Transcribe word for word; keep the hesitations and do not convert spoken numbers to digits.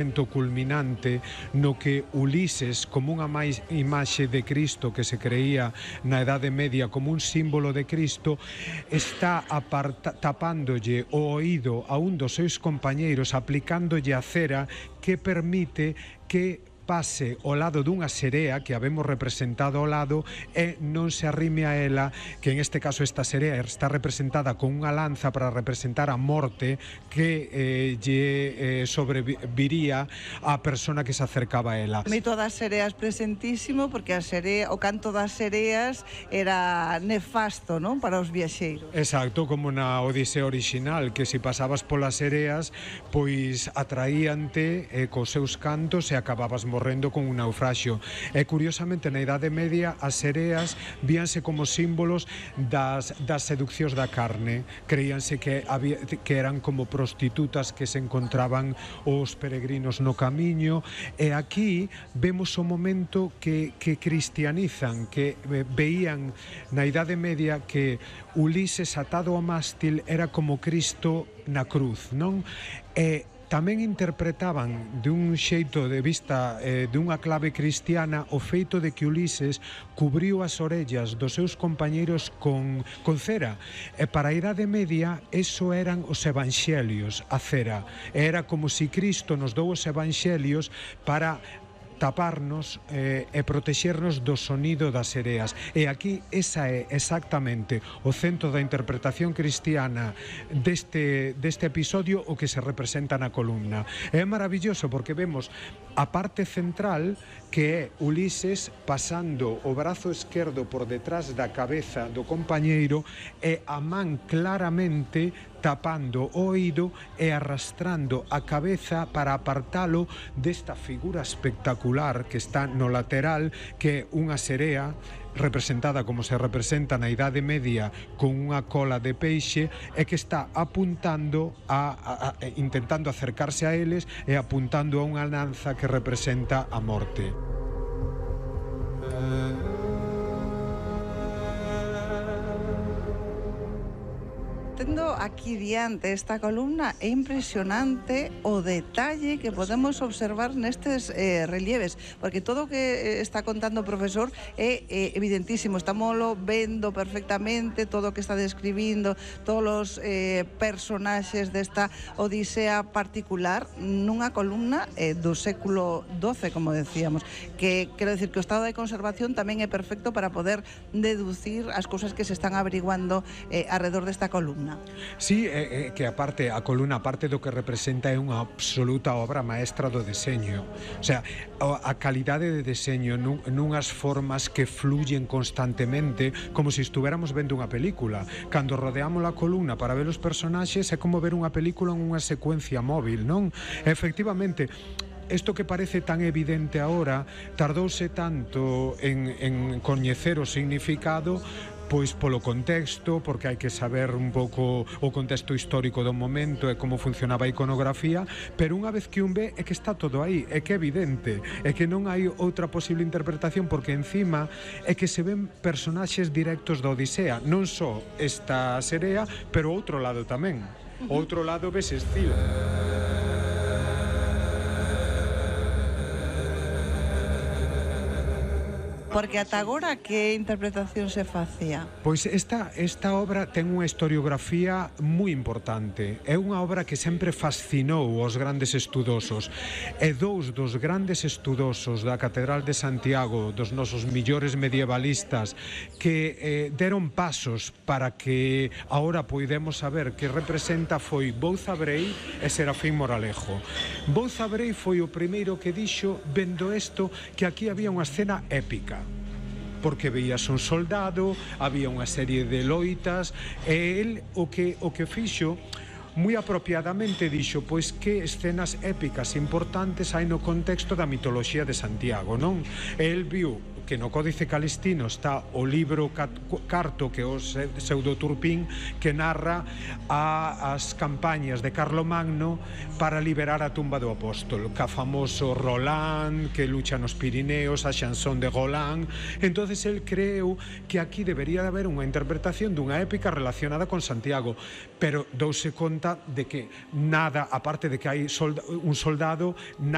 momento culminante no que Ulises, como unha máis imaxe de Cristo que se creía na Edade Media como un símbolo de Cristo, está aparta, tapándolle o oído a un dos seus compañeiros, aplicándolle a cera que permite que pase ao lado dunha serea que habemos representado ao lado e non se arrime a ela, que en este caso esta serea está representada con unha lanza para representar a morte que eh, lle eh, sobreviría á persona que se acercaba a ela. O mito das sereas presentísimo, porque a serea, o canto das sereas era nefasto, non, para os viaxeiros. Exacto, como na Odisea original, que se pasabas polas sereas, pois atraíante eh, cos seus cantos e acababas morrendo morrendo con un naufraxio. E curiosamente na Idade Media as sereas víanse como símbolos das, das seduccións da carne. Creíanse que, había, que eran como prostitutas que se encontraban os peregrinos no camiño, e aquí vemos o momento que, que cristianizan, que veían na Idade Media que Ulises atado ao mástil era como Cristo na cruz, non? E tamén interpretaban de un xeito de vista eh, de unha clave cristiana o feito de que Ulises cubriu as orellas dos seus compañeiros con, con cera, e para a Idade Media eso eran os evanxelios, a cera. Era como se Cristo nos dou os evanxelios para taparnos eh, e protexernos do sonido das sereas. E aquí esa é exactamente o centro da interpretación cristiana deste, deste episodio, o que se representa na columna. É maravilloso porque vemos a parte central, que é Ulises pasando o brazo esquerdo por detrás da cabeza do compañeiro e a man claramente tapando o oído e arrastrando a cabeza para apartalo desta figura espectacular que está no lateral, que é unha serea representada como se representa na Idade Media con unha cola de peixe, e que está apuntando a, a, a intentando acercarse a eles e apuntando a unha lanza que representa a morte. Tendo aquí diante esta columna, é impresionante o detalle que podemos observar nestes eh, relieves, porque todo o que está contando o profesor é eh, evidentísimo, estámoslo vendo perfectamente, todo o que está describindo, todos os eh, personaxes desta odisea particular nunha columna eh, do século doce, como decíamos, que quero decir que o estado de conservación tamén é perfecto para poder deducir as cousas que se están averiguando eh, alrededor desta columna. Sí, é, é que aparte a columna, aparte do que representa, é unha absoluta obra maestra do deseño. O sea, a calidade de deseño nun, nunhas formas que fluyen constantemente, como se estuviéramos vendo unha película. Cando rodeamos a columna para ver os personaxes, é como ver unha película en unha secuencia móvil, non? Efectivamente, isto que parece tan evidente agora tardouse tanto en, en coñecer o significado, pois polo contexto, porque hai que saber un pouco o contexto histórico do momento e como funcionaba a iconografía, pero unha vez que un ve é que está todo aí, é que é evidente, é que non hai outra posible interpretación, porque encima é que se ven personaxes directos da Odisea, non só esta serea, pero outro lado tamén. O outro lado ves Escila. Porque ata agora que interpretación se facía? Pois esta, esta obra ten unha historiografía moi importante. É unha obra que sempre fascinou os grandes estudosos. E dous dos grandes estudosos da Catedral de Santiago, dos nosos millores medievalistas, que eh, deron pasos para que agora poidemos saber que representa, foi Bouza Brei e Serafín Moralejo. Bouza Brei foi o primeiro que dixo, vendo isto, que aquí había unha escena épica, porque veías un soldado, había unha serie de loitas, e el o que, o que fixo moi apropiadamente dixo, pois que escenas épicas importantes hai no contexto da mitoloxía de Santiago, non? E el viu que no Códice Calistino está o libro Carto, que é o Pseudo Turpín, que narra a, as campañas de Carlomagno para liberar a tumba do apóstolo, ca famoso Roland, que lucha nos Pirineos, a Chanson de Roland. Entonces el creu que aquí debería de haber unha interpretación dunha épica relacionada con Santiago, pero douse conta de que nada, aparte de que hai solda, un soldado, nada